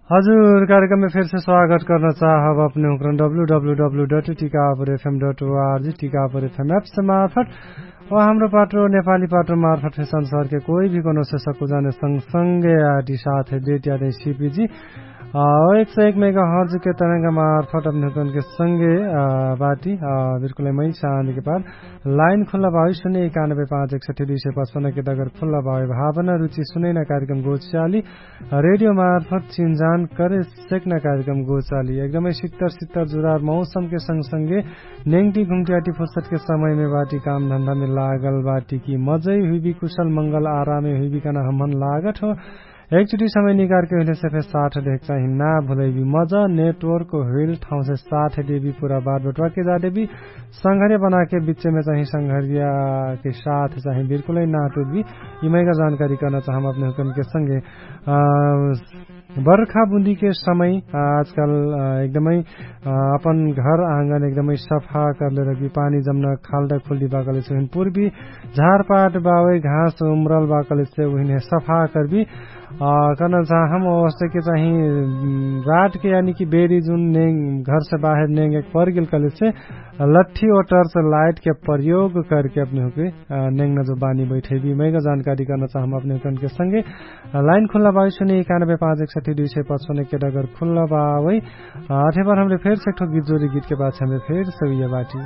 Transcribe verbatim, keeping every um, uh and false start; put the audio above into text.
हजुर, कार्यक्रममे फेरसे स्वागत कर्न चाहब अपने हुक्रन W W W dot Tikapur FM dot ORG Tikapur FM apps मार्फट वा हाम्रो पाटो नेपाली पाटो मार्फट फेर संसारके कोही भी कोनो से सक्कु जाने संगसंगे आटी साथ है देट यादै सिपिजी। एक सय एक मेगा हर्जके तरंग मार्फट अपने हुक्रनके संगे बाटी। बिल्कुलै मै चाँदके पार लाइन खुल्ला भावी सुने एकानबे पाँच एक सठी दुई सय पचपन्नके डगर खुल्ला भावी भावना रुचि सुनैना कार्यक्रम गोचाली रेडियो मार्फत चिन्जान करे सेक्ना कार्यक्रम गोचाली एकदमै सित्तर सित्तर जुरार मौसमके संगसंगे नेङ्टी घुम्ट्याटी फुर्सतके समयमे बाटी काम धन्दामे लागल बाटी कि मजै हुइबी कुशल मंगल आरामे हुइबी कहना हमहन लागत हो। एकचुटी समय निकारके हुइलेसे फेर साथ देख चाही ना भुलैबी मजा नेटवर्क हुइल ठाउँसे साथ देबी पुरा बात बटवाके जादेबी संघर्य बनाके बिच्चेमे चाही संघर्यके साथ चाही बिल्कुलै ना टुटबी। यिमैका जानकारी कर्ना चाहम अपने हुकनके संगे बर्खा बुन्दिके समय आजकाल एकदमै अपन घर आँगन एकदमै सफा करले रखबी पानी जम्ना खाल्डा खुल्डी बाकले से हुइन पुर्बी झारपाट बावै घाँस उम्रल बाकले से हुइन सफा करबी। कर्ना चाहम अवस्थाके चाही रातके यानिकि बेरी जुन नेङ घरसे बाहेर नेङ एक परगेल कलेसे लठ्ठी ओटरसे लाइटके प्रयोग करके अपने हुके नेङ नजो बानी बैठैबी मैगा जानकारी कर्ना चाहम अपने हुकनके संगे। लाइन खुल्ला बाइसुने एकानबे पाँच एक सठी दुई सय पचपन्नके डगर खुल्ला बावै। अठेबार हमरे फेरसे एकठो गीत जोरी गीतके पाछ हमरे फेरसे उइया बाटी।